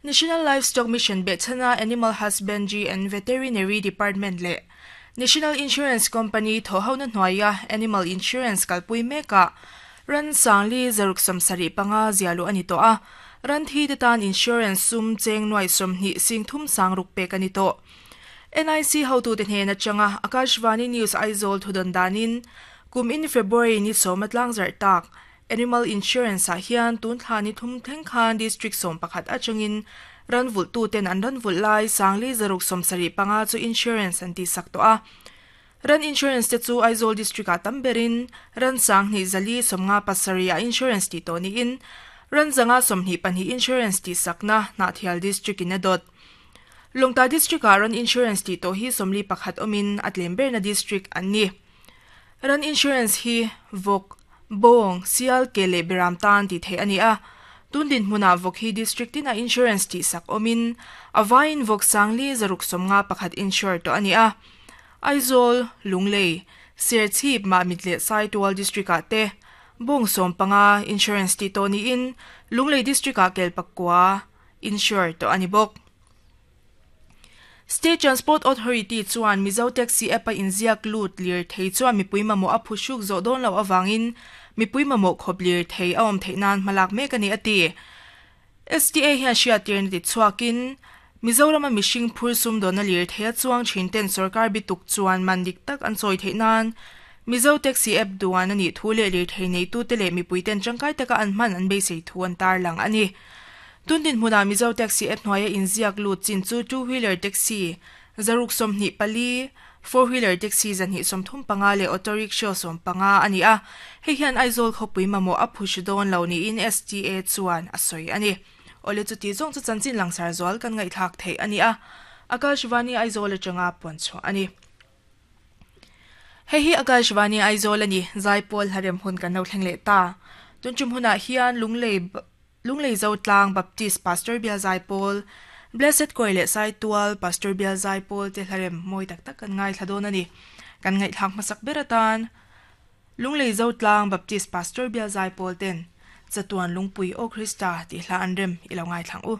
National Livestock Mission behchhana Animal Husbandry and Veterinary Department leh National Insurance Company thawhhona hnuaia Animal Insurance kalpui mekah ran sangli zaruk 75 zia luh a ni tawh a, ran thi te tan insurance sum cheng nuai 20 sing thum sang ruk pek a ni tawh. NIC hotute hnen atanga Akashvani News Aizawl thudawn danin kum in February ni 10 a tlangzarh tak Animal Insurance ah hian tun thla ni thum thleng khan District 11 atangin ran vulh tu ten an ran vulh lai sangli zaruk 75 chu insurance an tihsak tawh a. Ran insurance te chu Aizawl District ah tam berin ran 2 4 57 ah insurance tih tawh niin ran 122 insurance tihsakna Hnahthial District in a dawt. Lawngtlai District ah ran insurance tih tawh hi 41 awmin a tlem berna district an ni. Ran insurance hi vawk, bawng, sial, ke leh beram tan tih theih a ni a. Tun dinhmunah vawk hi district tinah insurance tihsak awmin a vaiin vawk sangli zaruk 51 insure tawh a ni a. Aizawl, Lunglei, Serchhip, Mahmit leh Saitual district ah te bawng 15 insurance tih tawh niin Lunglei district ah kel pakua insure tawh a ni bawk. State Transport Authority chuan Mizo Taxi app a inziak lut lir thei chuan mipui mamawh a phuhruk zawh dawn loh avangin mipui mamawh khawp lir thei a awm theih nan hmalak mek a ni a ti. STA hian hriattirna ti chhuakin Mizorama mihring phur sumdawnna lir thei a chuang thin ten sorkar bituk chuan man dik tak an chawi theih nan Mizo Taxi app duan a nih thu leh lir thei neitute leh mipui ten tangkai taka an hman an beisei thu an tarlang a ni. Tun dinhmunah Mizo Taxi app hnuaia inziak lut chin chu two wheeler taxi zaruk 24, four wheeler taxi 235 leh auto rickshaw 15 a ni a. Hei hian Aizawl khawpui mamawh a phush dawn lo niin STA chuan a sawi a ni. Awle chuti zawng chu chanchin langsar zual kan ngaihthlak theih a ni a. Akashvani Aizawl atanga puan chhuah a ni. Hei hi Akashvani Aizawl a ni. Zaipawl hlarem hun kan lo thleng leh ta. Tun tum hunah hian Lunglei Lunglei Zotlang Baptist Pastor Bial Zaipawl, Blessed Kawi leh Saitual Pastor Bial Zaipawl te hlarem mawi tak tak kan ngaithla dawn a ni. Kan ngaihthlak hmasak ber atan Lunglei Zotlang Baptist Pastor Bial Zaipawl ten Chatuan Lungpui Aw Krista tih hla an rem i lo ngaithlang u.